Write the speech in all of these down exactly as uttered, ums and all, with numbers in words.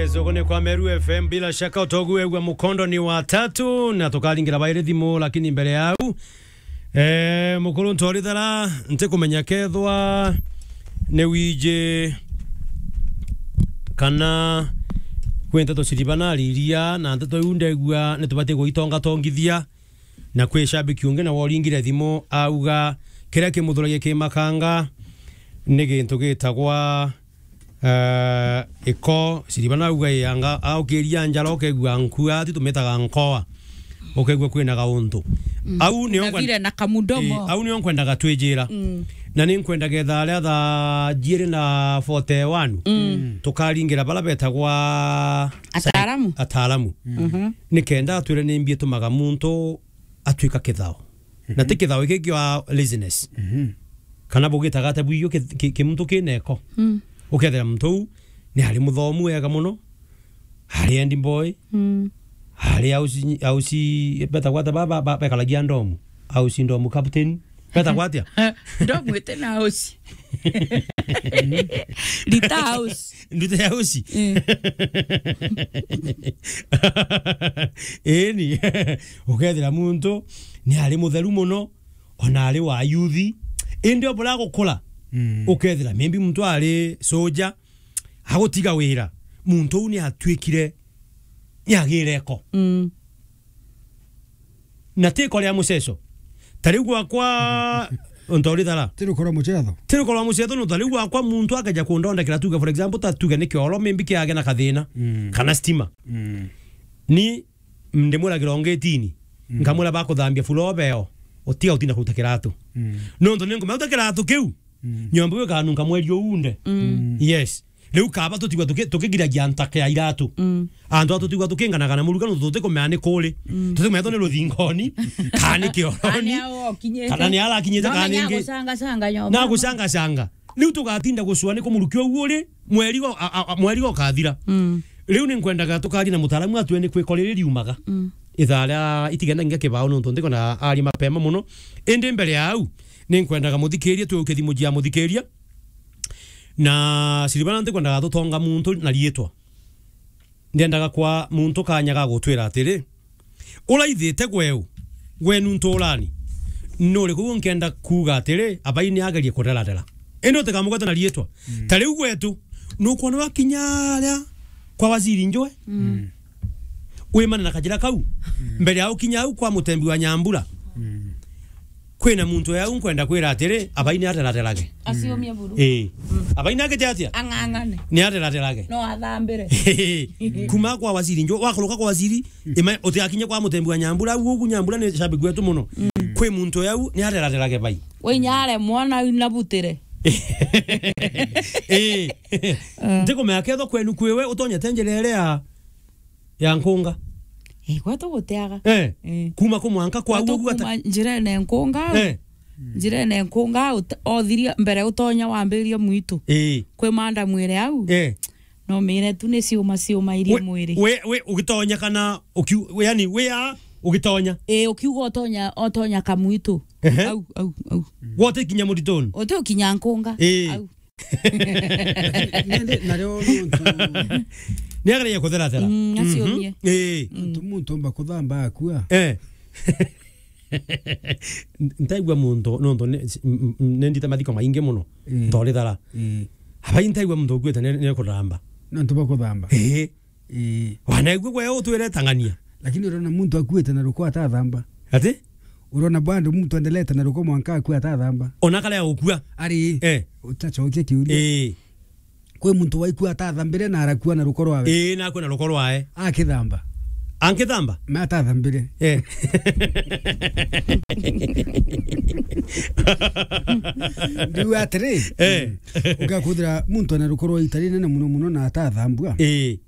Yes, ugu ni kwa Meru F M, bila shaka utogu egwa mukondo ni wa tatu, na tukaringira bairi thimu, lakini mbere yau, eh, mukuru Ntorithara, ntikumenya kethwa ni wiji kana kwi nteto ciriba nariria, na nteto iu ndegua ni tubati gwitongatongithia. Na kwi shabiki ungi nawe uringire thimu auga kiria kimuthuragia ki makanga ni gintu gitagwa, eh, iko. Siriba nauga ianga aukiria njara ukegua nkua, ati tumitaga nkoa, ukegua kwina gauntu. Mm. Au nio Na nkwen- vile na kamudomo. Eh, au nio nkwendaga twijira. Mm. Na ni nkwenda getha aria thaa jiiri na forty one, mm, tukaringira bara betagwa Ataalamu. Ataalamu. Mhm. Nikenda atwire ni mbi itumaga muntu atwika kithao. Na ti kithao iki kia laziness. Mhm. Kana bugitaga ata bwiyo ki-, ki-, kimuntu kineko. Mm. Ukethira muntu uu ni ari muthomu wega muno, ari endi boy, mm, ari ausi, ausi, betagwa ata ba, ba, ba, bekaragia ndomu, ausi ndomu captain, betagwa atia? Ndomu iti na ausi. Rita ausi. Nduta ya uci. Mm. Ĩni. Ukethira muntu ni ari mutheru muno, ona ari wa yuthi. Indi obura gukura, mm, ukethira maybe muntu ari soja, agutiga wira. Muntu uu ni atwikire, ni agire eko. Mm. Na ti iko ria muceco. Ta riu gwakwa, Ntorithara. Ti rukoro mucetho. Ti rukoro rwa mucetho, no ta riu gwakwa muntu akeja kundondekera, tuge, for example, ta tuge ni kioro, maybe kiage na kathina, mm, kana stima. Mm. Ni ndimwira kirongetini, mm, nkamwira bakuthambia floor beo, utiga utinda kuruta kiratu. Mm. Nontu ni nkumenya uta kiratu kiu, mm, nyomba iu ikanunka mweri uunde. Mm. Yes. Riu kaba tutigwa tuki-, tukigiragia ntaka ya iratu. Mm. Antu atu tutigwa tukinganaga na muruga, nontu tutikumenya ni kuri. Mm. Tutikumenya to ni ruthingoni, kana ni kioroni, kana ni arakinyite, kana ni ingi. Gucangacanga nyomba. Na gucangacanga. Riu tugatinda gucua ni ku muruki ugu uri, mweri go-, a, a, a, mweri gokathira. Mm. Riu ni nkwendaga tukaria na mutaalamu atwire ni kwiko riri riumaga. Mm. Ithaa ria itigenda ngia kibao, nontu ndikwenda aria mapema muno. Indi mbere ya au, ni nkwendaga muthikiria, twiuke thimu jia muthikiria. Na Silvana ntikwendaga tutonga muntu na riitwa. Ndiendaga kwa muntu kanya ga gutwira atiri, uraithite gweu, gwenu nturani, nuriku nkenda kuuga atiri, abai ni agerie kureratera. Indi utikamugweta na riitwa. Mm. Ta riu gwetu, nukwona wakinya aria kwa waziri Njue? Mm. Wimane na kajira kau. Mm. Mbere ya ukinya au kwa mutembi wa Nyambura. Mm. Kwina muntu yau nkwenda kwira atiri, abai ni ateraterage. Aciumie buru. Ii. Mm. Abai ni agite atia? Ang'ang'ane. Ni ateraterage. No athambire. Kuma kwa waziri Njue, wakuruka kwa waziri, mm, ima utiakinye kwa mutembi wa Nyambura, au ugu Nyambura ni shabiki wetu muno. Mm. Kwi muntu yau ni ateraterage bai. We inya aremwa na, na butire. Ii. Eh. Ntikumenya kethwa kwenu kwiwe utonyete njira iria ya ya nkunga. Eh, gwetu guteaga. Eh. Eh. Kuma ku mwanka kwa gwetu uguo ata- kuma njirene nkunga. Eh. Njirene nkunga, ut-, othiria mbere utonya wambiria mwitu. Eh. Kwi manda mwire au. Eh. No mire tu ni ciuma ciuma iria we, mwiri. We, we, ugitonya kana ukiu-, we, yani, we a, ugitonya? Eh, ukiuga utonya, utonya kamwitu. Ehe. Au, au, au. Wote kinya muritoni? Uti ukinya nkunga. Eh. Au. Nindi nario nontu ni agereire kutheratera. Mm, acio. Mhm. Nie. Ii. Mm. Nontu muntu omba kuthamba akua. Eh. Ntaigua muntu, nontu ni, m-, m-, nindite mathiko maingi muno. Mm. Ntorithara. Mm. Abai ntaigua muntu ukuite ni, ni kuramba. Nontu bwa kuthamba. Ii. Ii. Wanaigua gwe utwire tang'ania. Lakini urona muntu akuite na ruko atathamba. Ati? Urona bado muntu endelete na ruko mwanka akua atathamba. Ona kare agukua. Ari. Eh. Utacokia kiuria. Ii. Kwi muntu waikua atathambire na arakua na ruko rwawe. Ii, na akua na ruko rwae. Akithamba. Ankithamba? Ma atathambire. Eh. Ndiu atiri. Eh. Ugakuthira muntu ena ruko rwa itari nene muno muno na atathambua. Ii.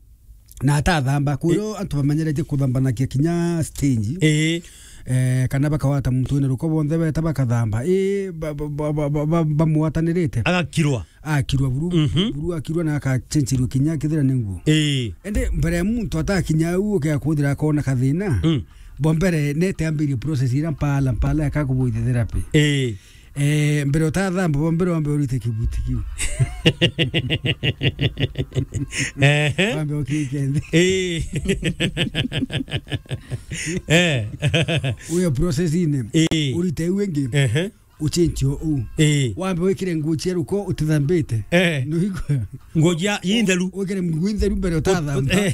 Na atathamba, kurio antu bamenyeretie kuthambanagia kinya stage. Ii. Eh, kana bakawata muntu wina ruko bonthe beta bakathamba. Ii, ba-, ba-, bamwatanirite. Agakirwa. Akirwa buru, mhm, buru akirwa na akachenchirwa kinya kithira ni nguo. Ii. Indi mbere ya muntu atakinya au, uke akuthira akona kathina. Mm. Bo mbere nete ambirie process ira mpala, mpala ya kakubuithia therapy. Ii. Eh, mbere utathamba, bo mbere wambe urite kibuti kiu. Ehe. Wambe ukike nthi. Eh. Eh. Uyo process ine. Eh. Urite iu ingi. Ehe. Uchenchi o u. Eh. Wambe wikire nguo cia ruko utithambite. Eh. Nuigua? Nguo cia intheru. Wikire nguo intheru mbere utathamba. Eh.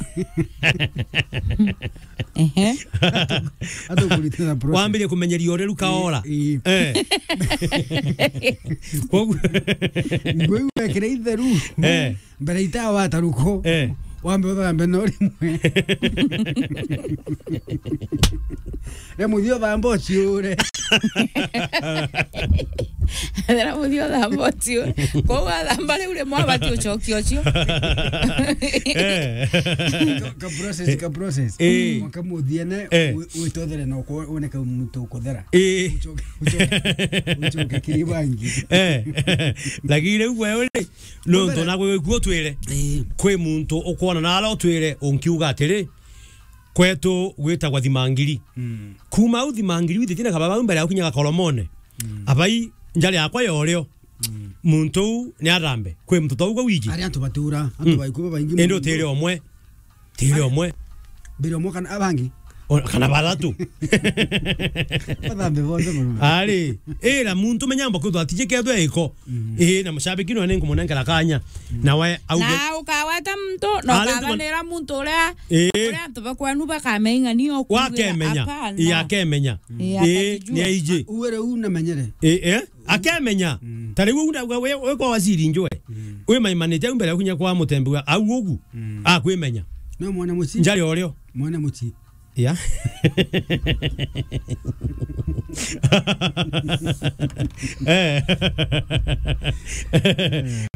Ehe. Hata ukurite na process. Wambirie kumenyeria ureru kaora. Eh, eh. Eh. Koguo nguo iu wekire itheru. Eh. Mbere ita wataruko. Eh. Wambe uthambe no rimwe. Re muthio thamba uciure. Thera muthio thamba ucio. Kou athamba riu rimwe abati ucokia ucio. Eh. Ka, ka process, ka process. Eh. Mwaka muthiene, eh, wi-, witothere na uko-, woneke muntu ukuthera. Eh. Ucoke, ucoke, ucoke kiri bangi. Eh. Lakini riu wewe ri, nontu na gwe gwe utwire. Eh. Kwi muntu ukwona na ara utwire unkiuga atiri, kwetu gwitagwa Thimangiri. Mm. Kuma au Thimangiri withitie na kababa au mbere ya gukinya Gakoromone. Mm. Abai njari yakwa ya urio. Mm. Muntu uu ni arambe. Kwi muntu tauga wiji. Ari antu batura, antu, mm, baiku babaingi. Indi muno. Utiri omwe. Tiri omwe. Mbere omwe kana abangi? O, kana bathatu. Bathambe bonthe muno. Ari, ira muntu menya amba kwithwa atijiketwe iko. Mm. Ii, na mushabiki nwe ninkumunengera kanya. Mm. Nawe auge. Na ukaweta muntu, na ari, ukabanira muntu uria, ii, uria antu bakwenu bakamenya ni okuugira. Wakemenya. Hapana. Ii, akemenya. Ii, ii, atajijua. Ni aiji. Uwe riu namenyere. Ii, eh? Akemenya. Mm. Ta riu we, we, we kwa waziri njwe. Mm. Wimaimanite au mbere ya kunya kwa mutembi wa au ugu. Mm. Akwimenya. No mwana muci. Njari orio. Mwana muci. Ya. Eh.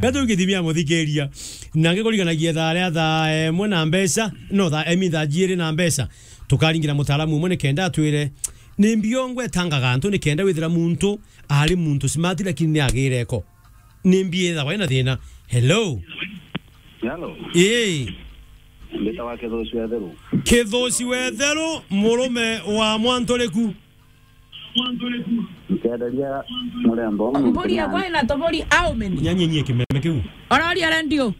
Gatu githimia muthikiria. Na ngikuriganagia thaa ria thaa imwe na mbeca, no, thaa, I mean, thaa jiiri na mbeca. Tukaringira mutaalamu umwe nikenda atwire ni mbio ngwetangaga antu nikenda withira muntu ari muntu smart lakini ni agire ko. Ni mbi ethagwa ina thina. Hello. Hello. Ii. Mbitawa Kithuci Wetheru. Kithuci Wetheru, murume wa Mwanturiku. Nkenderia murembo. Mburi yakwa ina tobori how many? Nyanyie nyie kimeme kiu. Ororia radio.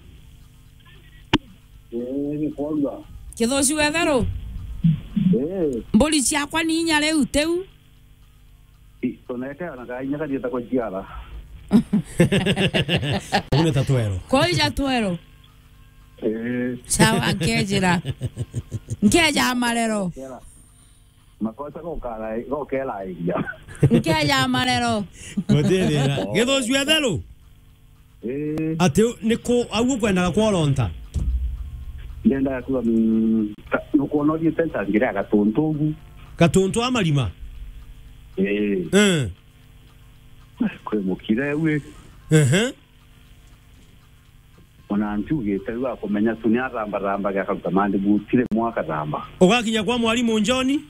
Ii, ni kwonga. Kithuci Wetheru. Ii. Mburi ciakwa ni inya riu tiu. I, tuneke ona kainya kathieta kuciara. Une ta twero. Kwa ija twero. Eh. Sawa, nkejira. Nkeja marero. Kera. Makosa gokara, gokerairia. Nkeja marero. Gutithira. Githuci Wetheru. Eh. Ati u-, ni ku, au ukwendaga kworonta? Ndendaga kuga, mm, ka-, nukwona uthiite nchangire ya gatuntu ugu. Gatuntu a marima? Eh. Eh. Kwi mukire wi. Ehe. Ona ntiugite riu akumenya tu ni arambarambage akaruta mandi gutire mwa akaramba. Ugakinya kwa mwarimu Njoni?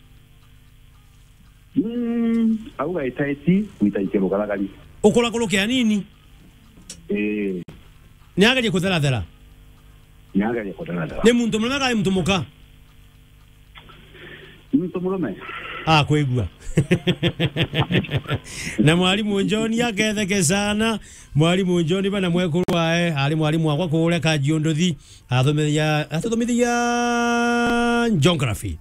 Mm, au gaitaiti, gwitaikia rugaragari. Ukurakuruke anini? Ii. Ni agerie kutherathera? Ni agerie kutherathera. Ni muntu murume kana ni muntu muka? Ni muntu murume. Ah, kwigua. Na mwarimu Njoni aketheke sana. Mwarimu Njoni bana mwekuru wae, ari mwarimu wakwa kuria Kajiunduthi. Athomithagia, athomithagia geography.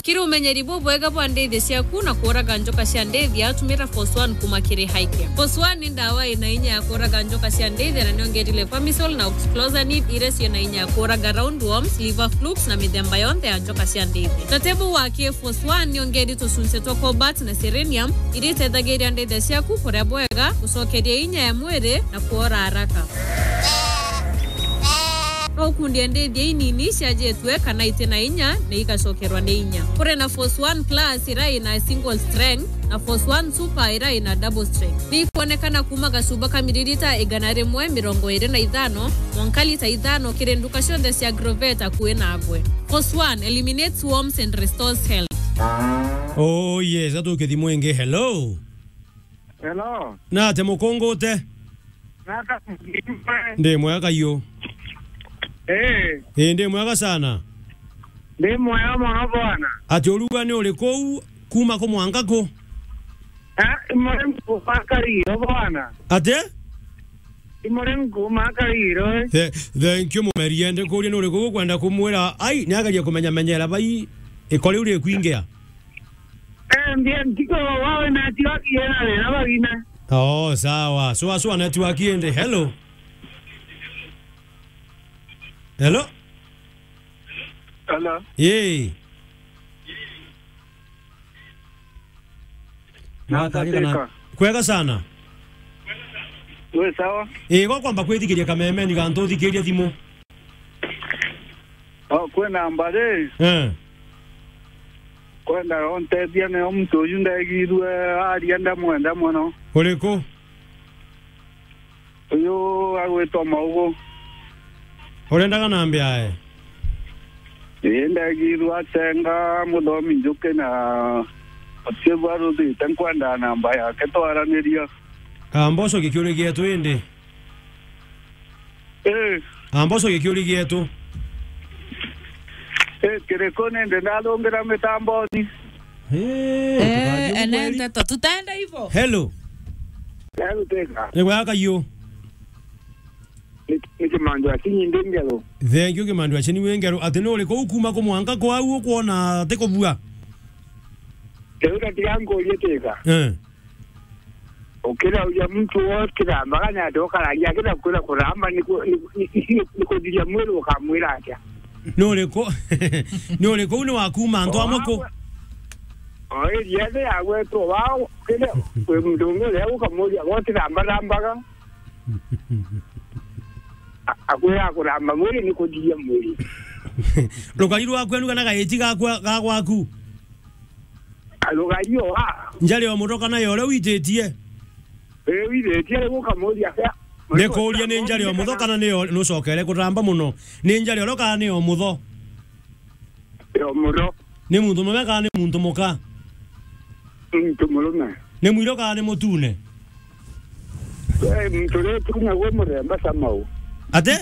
Kiri umenyeri bubwega bwa ndithia ciaku na kuuraga njoka cia ndithia, tumira Force One kuma kiri Highcare. Force One ni ndawa ina inya ya kuuraga njoka cia ndithia na niongerie clomiphene na oxyclosanid iria ciina inya ya kuuraga roundworms, liver flukes na mithemba yonthe ya njoka cia ndithia. Na tebu wa ki Force One niongerie tucunci twa cobalt na selenium iria itethagiria ndithia ciaku kuria bwega, gucokeria inya ya mwiri na kuora haraka. No ukundie ndithia inini ciajitwe kana iti na inya na igacokerwa ni inya. Kuri na Force One Plus iria ina single strength na Force One Super iria ina double strength. Ni ikwonekana kuma gacuba ka miririta igana rimwe mirongo iri na ithano mwanka lita ithano kiri nduka cionthe cia Agrovet akui nagwe. Force One eliminates worms and restores health. Oh yes, gatuke thimu ingi. Hello. Hello. Na ate mukungute? Naka. Ndi mwega kaiyo. Eh. Eh, ndi mwega sana. Ndi mwega mono bwana. Ati uruga ni uri kuu? Kuma ku mwanka ku? Ah, imore nkuma kariro bwana. Ate? Imore nkuma kariro, eh. The-, thank you, mumeri. Ende kuria nuri ku ukwenda kumwira, ai, ni agerie kumenya menyera bai, ikori uri kwingia. Eh, mbia ntiko wawe na tiwa kiena na bagina. Oh, sawa. Sua, sua network ende. Hello. Hello? Hello. Yee. Natharika. Kwega sana. We sawa? Ii, gwa kwamba kwithikiria kameme, ni gantu uthikiria thimu. Oh, kwina mbari. Eh. Kwenda ontethia nio muntu uyu ndegirue aria ndamwenda mono. Uriku? Uyu agwitwa Maugu. Urendaga nambi ae? Ii, ndegirwe atenga muthomi njuki na utiu aruthite, nkwenda namba yake twaraniria. Amba ucokie kiuria gietu indi. Ii. Amba ucokie kiuria gietu. Ii, kiriku nindi ndarungira mitamboni. Ii, eh, tukathie ene kweli. Nteto, tutaenda hivo. Hello. Hello, Teka. Ni gwaka yo. Ni, ni Kimandu Akinyi ndi Ngeru. Thank you, Kimandu Akinyi wi Ngeru. Ati ni uriku ukuma ku mwanka kwau ukwona ati kubua? Riu gatiga nkurie Teka. Eh. Ukirauria muntu wo kirambaga ni ati ukararia akira kwira kuramba ni ku-, ni, ni, ni, ni kuthiria mwiri ukamwira atia? Ni uriku, ni uriku ni wakuma antu amwe ku? O area ni yagwetwo wao, kile kwi muntu ungi uria ukamuria, gotirambarambaga. A-, akwira akuramba mwiri ni kuthiria mwiri. Rugari rwa kwenu kana gaiti gakwa, ga gwaku? Rugari o ha? Njari o mutho kana yo uria wititie? Ii, withitie riu ukamuria, ya. Ni kuria ni njari o mutho kana ni yo, nucokere kuramba muno. Ni njari o kana ni o mutho? Yo mutho. Ni muntu mume kana ni muntu muka? Muntu murume. Ni mwiro kana ni mutune? Eh, muntu uria utune gwe muremba Samau. Ate?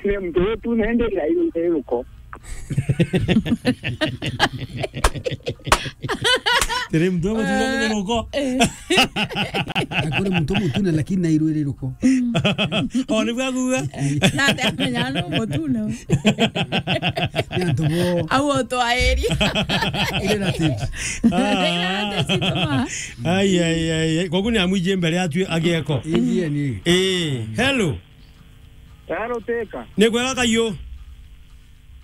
Ni muntu uria utune ndi ira iruko. Tiri muntu mutune muthiruko. Eh. Akuri muntu mutune lakini na iru iriruko. O ni bwa kuuga. Na ndamenya no mutune. Ni antu bo. Au otwairi. Ile na tips. Ah. Ile na tips tuma. Ai, ai, ai, ai. Kwa kuni amwije mbere atwi agieko. Indian. Eh, hello. Hello, Teka. Ni kwega kayo.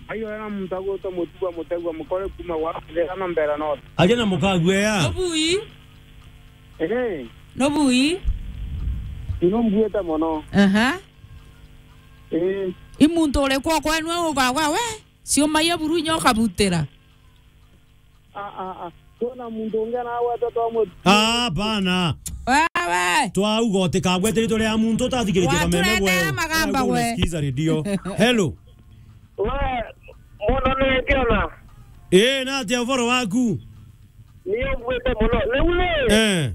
Ayo ena muntu agwitwa Mutua Mutegwa Mukore kuma gwa Thera na Mbera North. Aje na mukagwea. Nobui. Eh. Nobui. Ino mbuite mono. Aha. Eh. I muntu uriku kwenu ugagwa we? Ciuma ya buru inya ukabutira. Ah, ah, ah. Kwona muntu ungi anagweta twa mut- Ah, bana. Wewe. Twauga utikagwete ritwa ria muntu utathikiritie kameme gwe. Waturetera magamba we. Unasikiza redio. Hello. We, mwana ni ngiona. Eh, na atia uvoro waku? Ni ugwite muno. Riu ri. Eh.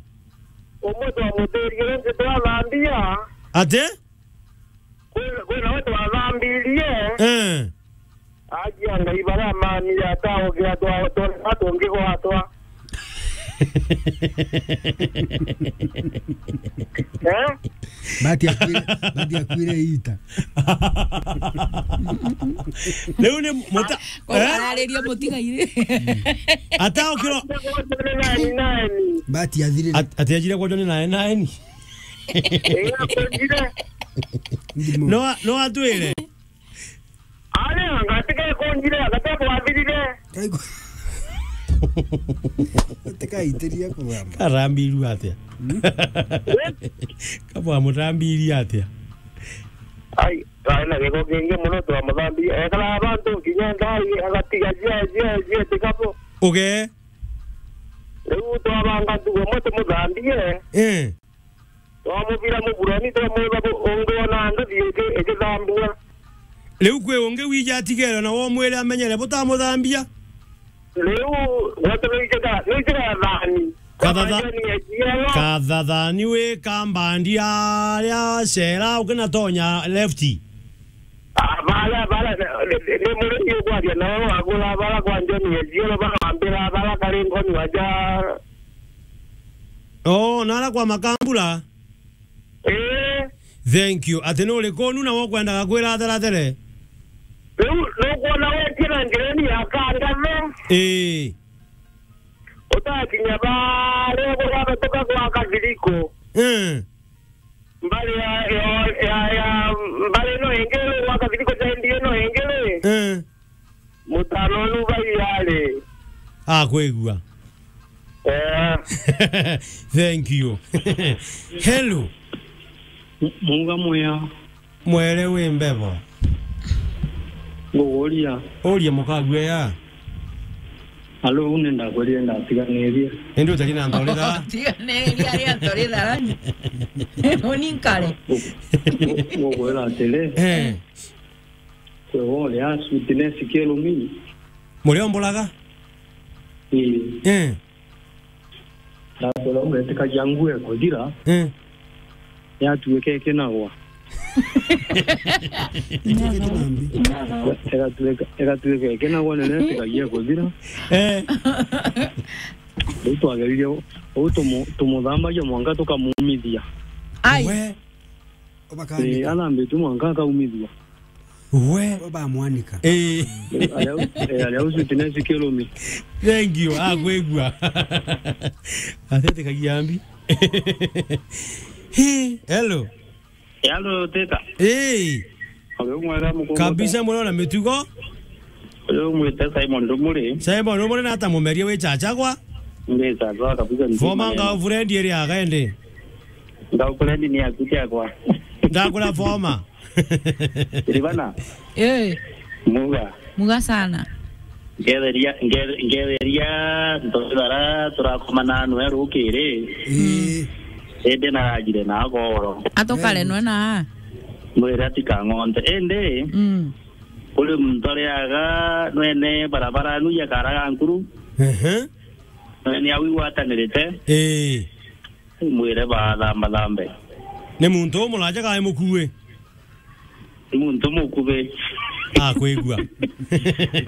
Umwe twamuthirie, ungi twathambia. Ate? Kwina, kwina we twathambirie. Eh. Agia Ngai baria mani ataogira twa, twa, twa tungigwatwa. Eh? Bati akwire, bati akwire ita. Riu ni muta-, eh? Arariria mutigaire. Ataokiro. Nani, nani? Bati athirire. At-, ati ajire kwonjwa ni nani, nani? Eh, akonjire. Ndimo. No, no atwire. Ari, anga tige kunjire, anga tige kwathirire. Aigu. Tikaitiria kuramba. Karambiru atia? Hmm? Kabwa murambiria atia? Ai, ari na giko kingi muno twamuthambirie. Ekara abantu kinya Ngai agatiga jie, jie, jie tikabu. Uge. Riu twabanga ntugo mwe tumuthambie. Eh. Twamubira muburani, twamwira bu-, ungi ona nduthi iki-, igithambua. Riu kwi ungi wija atigere na womwire amenyere butamuthambia? Riu, gwatu nijika, nijika thani. Kathatha-, Kambandia ni ejielo. Kathathani wi Kambandia aria cera ukinatonya left. Aba Ya bara, ni, ni, ni murimi ukwaria nao wagura bara kwa John Eziolo, bara wambira bara kari ngoni waja. Oh, nara kwa Makambura? Eh. Thank you. Ati ni uriku nu na ukwendaga kwira atherathere? Riu nukwona wetie na njirani ya Kangame? Eh. Utakinya baria gurabatuka gwa Kathiriko. Eh. Mbari ya, ya, ya, ya, mbari ino ingi ri gwa Kathiriko sendi ino ingi ri? Eh. Mutano nu baiari. Akwigua. Eh. Thank you. Hello. M-, muga mwea. Mwere wi mbebo. Nguguria. Uria mukagua ya. Alo, une ndakweria ndatiganirie. Indi utari na ntorira. Tiganirie ari antorira. Uni nkare. Ngu-, ngu-, ngukwira atiri. Eh. Kwe wole a sweetness kelumi. Muria omburaga? Ii. Eh. Ndakwira uretikagia nguo ekuthira. Eh. Yatuika ikinagwa. Itigite na mbi. Igatuika, igatuika ikinagwa ni retikagia ekuthira. Eh. Riu twageririe u-, u tumu-, tumuthambagia mwanka tukamumithia. Ai. We. Ii, athambitue mwanka akaumithua. We. Bamwanika. Ii. Aria u-, eh, aria u sweetness kelumi. Thank you. Akwigua. Atetikagia mbi. Hi, hello. Hello, Teta. Ii. Uri mwega mukungu? Kabisa, mwega na mitugo. Uyu umwite Simon Rumuri. Simon Rumuri na ata mumeria wi chachagwa? Ndi chachagwa kabisa, ndi former maneno. Girlfriend iri aga indi? Girlfriend ni aku chakwa. Ndakura former. Ribana. Eh. Muga. Muga sana. Ngetheria, nge-, ngetheria ntothara turakomana nwe rukiri. Ii. Indi narajire na agoro. Atukare nwe na. Mwire atikang'onte. Indi. Mm. Kuri muntu ariaga nwene barabara nu ya Karaga Nkuru. Ehe. Nwene au igwatanirite. Ii. Mwire bathamba thambe. Ni muntu umuraja kae mukue? Ni muntu mukubi. Akwigua.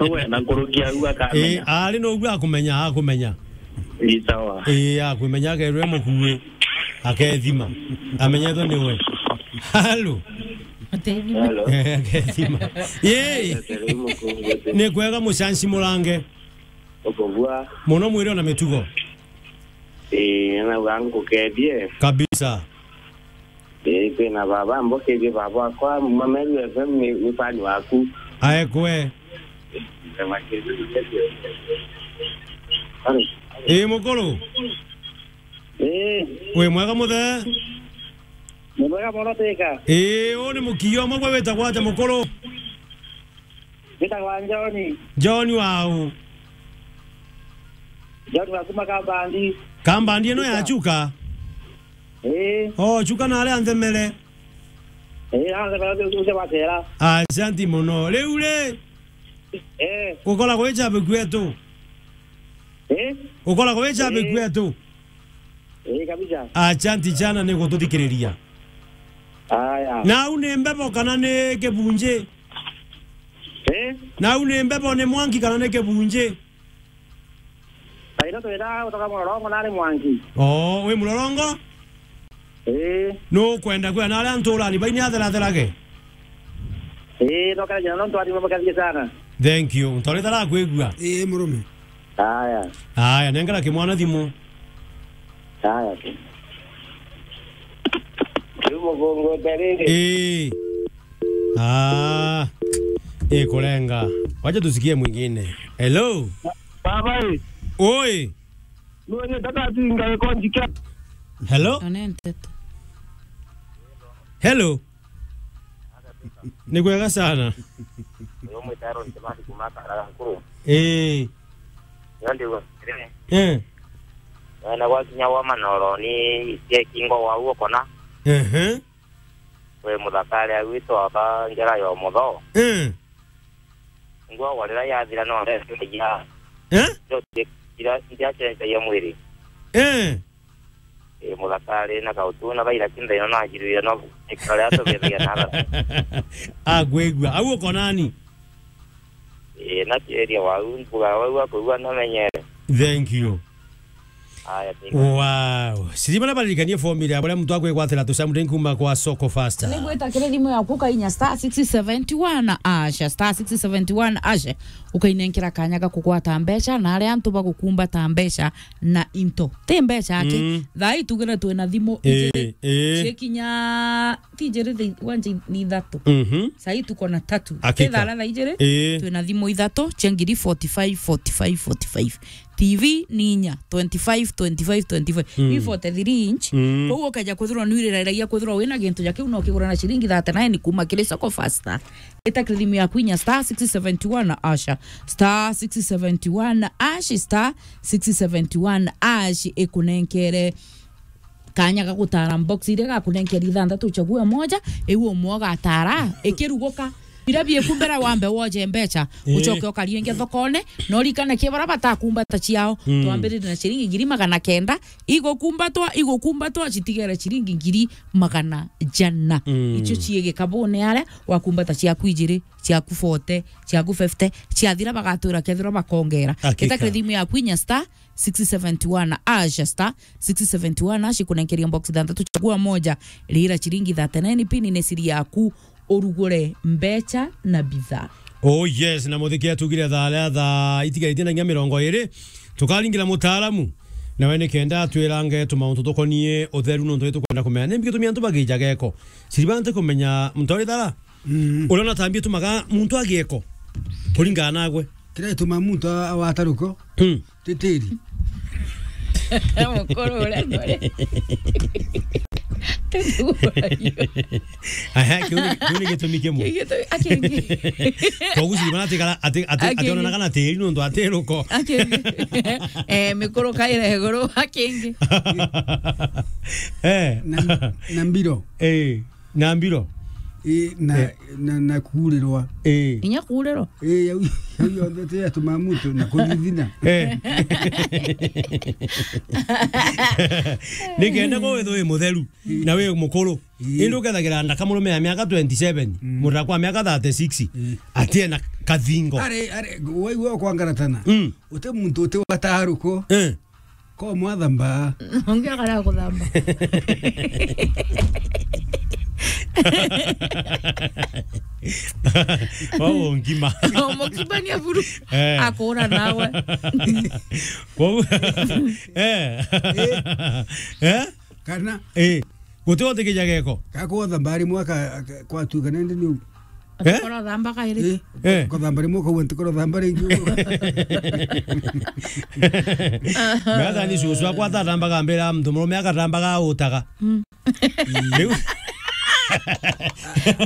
Uwe na nkuruki au akamenya. Ii, ari noguo akumenya, akumenya. Ni sawa. Ii, akumenya akerwe mukue. Akethima. Amenyetwe niwe. Halo. Hello. Akethima. Yei. Ni kwega mucanci murange. Ukubua. Muno mwiri ona mitugo. Ii, na wangu kebie. Kabisa. Ii, kwina baba, mbokerie baba wakwa, Mameru F M ni, ni fan waku. Aekwe. Ii, mukuru. Ii. Wi mwega muthe? Ni mwega mono Teka. Ii, uu ni mukio umwe gwe witagwa atia mukuru? Witagwa John. John wau? John wa kuma Kambandi. Kambandi ino ya Chuka? Chuka? Ii. Oh, Chuka na aria nthemere. Ii, na nthemere ucio, ucio gwacera. Asanti muno. Riu ri? Ii. Ukoragwo wi chabi kwetu? Ii? Ukoragwo wi chabi kwetu? Ii, kabisa. Asanti sana ni gututhikiriria. Aya. Nau ni mbebo kana ni kibunji? Eh? Nau ni mbebo, ni mwanki kana ni kibunji? Kaira twira utoka Mulorongo nari mwanki. Oo, wi Mulorongo? Ii. Nukwenda kwira na aria nturani bai ni atheratherage? Ii, nokera jina nontu ari mubakathie sana. Thank you. Ntorita rakwigua. Ii, murume. Aya. Aya, nengera kimwana thimu. Aya. Riu mugongo utariri. Ii. Ah. Ikurenga. Wacha tusikie mwingine. Hello. Baba, ii. Oi. Nwenye tata tinga iko njike. Hello? One nteto. Hello. Ni kwega sana. Uyu mwita Aaron Kimasi kuma Karaga Nkuru. Ii. Ndio ndio. Eh. Na gwakinya wa Manoro ni cia kingo wa uo kona. Ehe. We muthakare agwitwa aka njara ya mutho. Eh. Ngwa warira yathira no ndetagia. Eh? Ira, ira cenjagia mwiri. Eh. Eh, muthakari na kautu na baira kinda ino na njirwire no ikara ria tubithagia na athatu. Agwigua. Au uko nani? Eh, na kieria wau, mbuga wau akwigua na menyere. Thank you. Aya, thank you. Wow. Sirima na baririkanie formula ya baria muntu akwigwatira tu something kuma kwa Soko Faster. Nigwita kiri thimu yaku kainya star six seventy one asha, star six seventy one asha, ukainenkera kanya ga kugwata mbeca na aria antu bagukumbata mbeca na into. Ti mbeca aki. Mm. Thaa ii tugire twina thimu ijiri, eh, cikinya, ti ijiri thi-, wanja ni ithatu. Mhm. Saa ii tuko na tatu. Hakika. Ti thaa ijiri, eh, twina thimu ithatu cia ngiri forty five, forty five, forty five. T V ni inya, twenty five, twenty five, twenty five. Mm. Ii forty three inch. Mm. Koguo ukeja kwithirwa nwiriragia kwithirwa wina gintu ja kiu no kigura na ciringi thirty nine kuma kiri Soko Faster. Ita kiri thimu yaku inya star six seventy one asha, star six seventy one ash, star six seventy one ash ikunenkere kanya ga gutara box iria gakunenkera ithanthatu, uchague moja, iu umwe ugatara ikiruguka. Biria bieku mbere wambe woje mbeca, eh, ucoke ukarie ingi thokone, na urikane ki baria batakumbata ciao. Mm. Twambiririe na ciringi ngiri magana kenda, igukumbatwa, igukumbatwa, citigere ciringi ngiri magana jana. Mm. Icio cii gikabune aria, wakumbata ciaku ijiri, ciaku forty, ciaku fifty, ciathira bagatwira kethirwa bakongera. Hakika. Gita kiri thimu yaku inya star six seventy one ash, star six seventy one ash, ikunenkeria box ithanthatu, chagua moja, rira ciringi thirty nine pin ni siri yaku, urugure mbeca na bidhaa. Oh yes, na muthiki atugire thaa ria thaa itigaite na nginya mirongo iri, tukaringira mutaaramu, nawe ni kenda atwirange tumauntu tukonie utheru, nontu ni tukwenda kumenya nimbi gitumi antu bagijaga giko. Siri bantu kumenya muntu ari thara. Mm. Uria unatambia tumaga muntu agieko kuringana nagwe. Kiria gituma muntu a-, awata ruko, mm, ti tiri. Mukuru uria ngore. Aha, kiu ni, kiu ni gitumi kimwe. Kiu gitumi, akingi. Koguo siri bana atikara, ati, ati, ationanaga na tiri nontu ati ruko. Akingi. Eh, mikuru kaira iguru, akingi. Eh. Na, na mbiro. Eh. Na mbiro? Ii, na, eh, na, na kuurirwa. Ii. Inya kuurirwa? Ii, yau, yau yonthe ti yatuma muntu na kuthithina. Eh. Nikenda ko withwe wi mutheru, ii, na wi mukuru. Ii. Indi ukethagira ndaka murume ya miaka twenty seven, mm, muthaka wa miaka thirty six, ii, atiena kathingo. Ari, ari, waigua kwangaratana. Mm. Uti muntu uti wataruko. Eh. Ko mwathamba. Ungi akara kuthamba. Wao ngima. Mukibania buru. Eh. Akura nawe. Wao, eh. Eh. Eh? Kana? Eh. Guti wote kijaga giko. Ka kuthamba ari mwaka, ka-, kwatuka nende niu. Eh? Atikoro thamba kairi. Eh? Eh. Kuthamba rimwe ukauga ntikoro thamba ringi. Mega ni cucu akwa atathambaga mbere ya muntu murume agatambaga autaga. Mm. Riu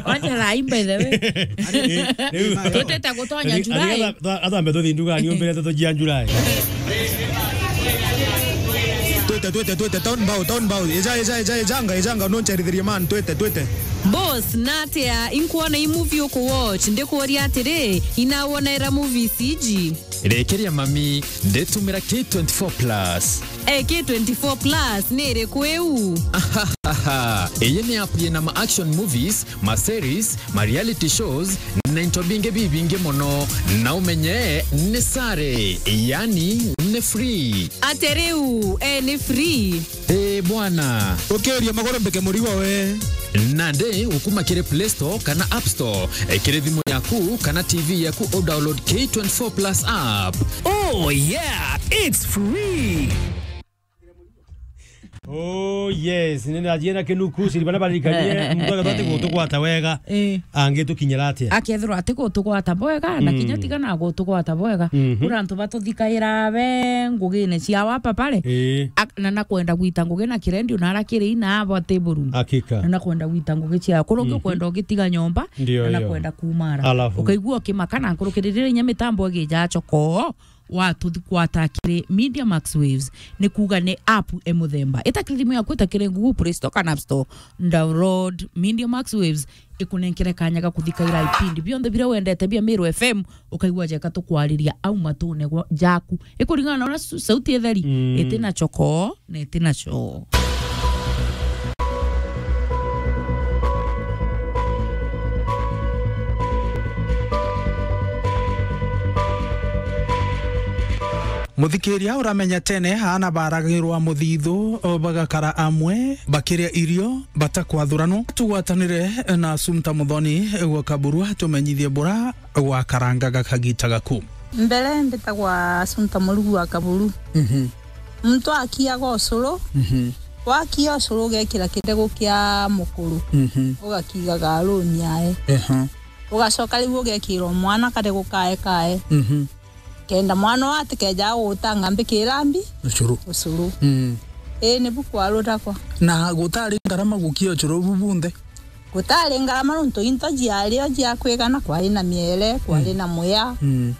wacha rai, by the way. Eh, riu. Tutete gutonya July. Athambe tuthi ndugani umbire tutujia July. Twite, twite, twite, town bow, town bow. Eja, eja, eja, ejanga, ejanga, noncherithirie man, twite, twite. Boss, natia, inkuona i movie uku watch, ndikuuria atiri, inawonera movies iji? Rekeria mami, nditumira K twenty-four plus. Eh, K twenty-four plus ni iriku iu? Ahahaha. Iyi ni app yina ma action movies, ma series, ma reality shows, na into bingi bibingi mono. Na umenye ni sare, yani ni free. Ate riu, eh, ni free? Eh, bwana. Ukiuria maguru mbike murigo we. Nandi ukuma kiri Play Store kana App Store, eh, kiri thimu yaku kana T V yaku, u download K twenty-four plus app. Oh yeah, it's free. Oh yes, nina jina kinuku, siri bana barikanie, muntu agatwa ati gutugwata wega. Eh. Angitukinyira atia? Akethirwa ati gutugwata bwega, na, mm, kinya tiga na gutugwata bwega. Mhm. Kuri antu batuthikaira be ngugine cia wapa pale. Eh. Ak-, na nakwenda gwita ngugi na kirendio na arakiri ina abo table room. Hakika. Na nakwenda gwita ngugi cia. Kurungi, mhm, ukwenda ugitiga nyomba, ndio, na ndio, nakwenda kumara. Alafu. Ukaigua ukimaka na nkurukirire inya mitambo igija choko. Watuthi-, kwata kiri Media Max Waves, ni kuuga ni app e muthemba. Ita kiri thimu yaku, ita kiri Google Play Store kana App Store, download Media Max Waves, ikunenkere kanya ga kuthikaira ipindi bionthe biria wendete bia Meru F M, ukaigua jeka tukwariria au matune gwa-, jaku. Ikuringana na uria su-, sauti itheri, mm, iti na choko, na iti na choo. Muthikiria uramenya tene, aana baragirwa muthithu, bagakara amwe, bakiria irio, batakwathurano. Tugwatanire na Assumpta Muthoni gwa Kaburu, tumenyithie bura gwakarangaga kagita gaku. Mbere mbitagwa Assumpta Murugu wa Kaburu. Mhm. Muntu akiaga ucuru, Mhm. wakia ucuru ugekira kidegu kia mukuru, Mhm. ugakigaga aruni yae. Ehe. Ugacoka riu ugekirwa mwana kadegu kae kae. Mhm. Kenda mwana uyu atikeja gutanga mbikira mbi Ucuru. ucuru. Mm. Ii, nibu kwaru takwa. Na gutari ngarama gukia ucuru bu bunthe? Gutari ngarama nontu into ciari o cia kwigana, kwari na miere, kwari Mm. na muya. Mm.